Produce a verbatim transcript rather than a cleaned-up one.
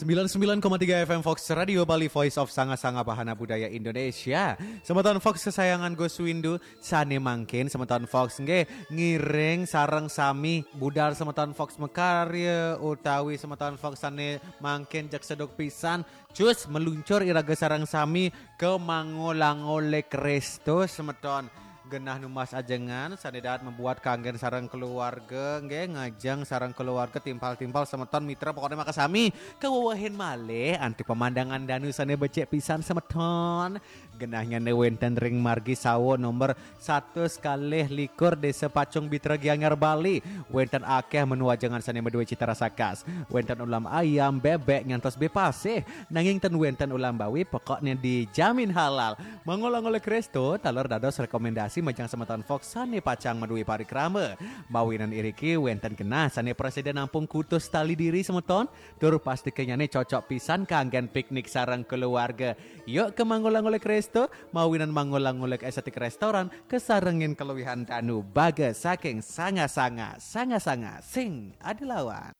Sembilan sembilan koma tiga F M Fox Radio Bali, Voice of Sanga-Sanga Bahana Budaya Indonesia. Semeton Fox kesayangan Gus Windu, sane mangkin semeton Fox nggih ngiring sareng sami budal semeton Fox mekarya utawi semeton Fox sane mangkin jek seduk pisan, cus meluncur iraga sareng sami ke Mangolango Lake Resto semeton. Genah numbas ajengan sane dahat membuat kanggen sareng keluarga, nggih, ngajeng sareng keluarga, timpal-timpal semeton mitra, pokoknya makasami kewewehin malih antuk pemandangan danu sane becik pisan semeton. Genahnyane wenten ring margi sawo nomor satus kalih likur, Desa Pacung Bitra, Gianyar, Bali. Wenten akeh menu ajengan sane maduwe cita rasa khas. Wenten ulam ayam, bebek, ngantos bepasih. Nanging ten wenten ulam bawi, pokoknya dijamin halal. Mangolango Lake Resto taler dados rekomendasi majeng semeton Fox sane pacang maduwe parikrama. Mawinan iriki wenten genah sane prasida nampung kutus tali diri semeton, tur pastikenyane cocok pisan kanggen piknik sareng keluarga. Yuk ke Mangolango Lake Resto, mawinan Mangolango Lake Aesthetic Restaurant, kesarengin keluwihan danu baga saking sanga-sanga, sanga-sanga sing ada lawan.